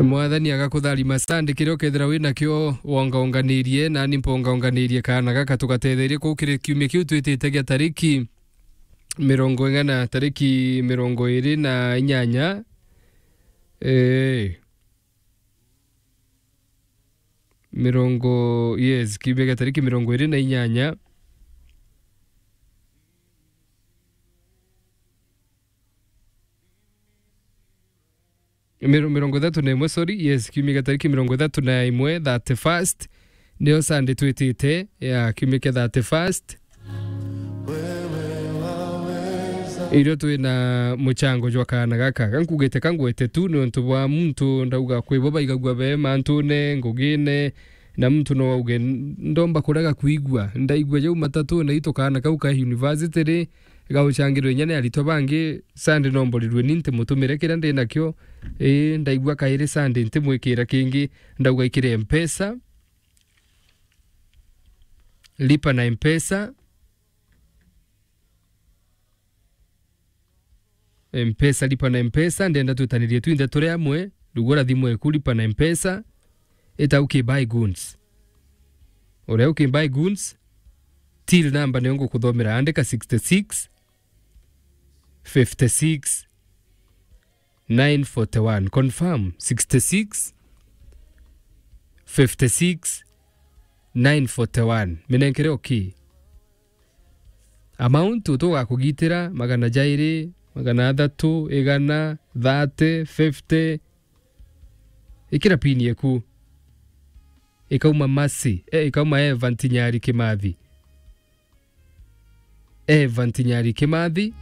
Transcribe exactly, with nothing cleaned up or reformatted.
Mwathani agakutharima Sande, kiria ukethira wi nakio wongaonganirie, nani mpongaonganirie kaana gaka tugatetherie kuu kiri kiumia kiu twitite gia tariki mirongo ing'ana, tariki mirongo iri na inyanya. Ee. Mirongo, yes, kiumia gia tariki mirongo iri na inyanya. Miro-, mirongo ithatu na imwe, sorry, yes, kiumia gia tariki mirongo ithatu na imwe, thirty-first, nio Sunday twitite, ya, kiumia kia thirty-first. Irio twina muchango jwa kaana gaka. Gankugite kangwete tu, ni untu bwa muntu ndauga kwi bo baigagua be mantune, ngugine, na muntu no auge, "Ndomba kurega kwigua." Ndaigua jau matatu na itu kaana kau ka university ri, gauchangirwe inya ni aritwa bangi, Sunday nomborirwe ni ntimutumire kiria ndi nakio. Ii, ndaigua kairi Sunday ntimwikira kingi, ndauga ikire Mpesa. Lipa na Mpesa. Mpesa, lipa na Mpesa, ndenda twitanirie twinthe turi amwe, rugura thimu eku, lipa na Mpesa, ita uki buy goods. Uria uki buy goods, till number niyo ngukuthomera, andika sixty-six, fifty-six, nine forty-one. Confirm, sixty-six, fifty-six, nine forty-one. Minenkere okay. Amount utugakugitira magana jairi, magana athatu, igana, thirty, fifty. Ikira pin yeku. Ikauma Mercy, eh, ikauma Eva Ntinyari Kimathi. Eva Ntinyari Kimathi.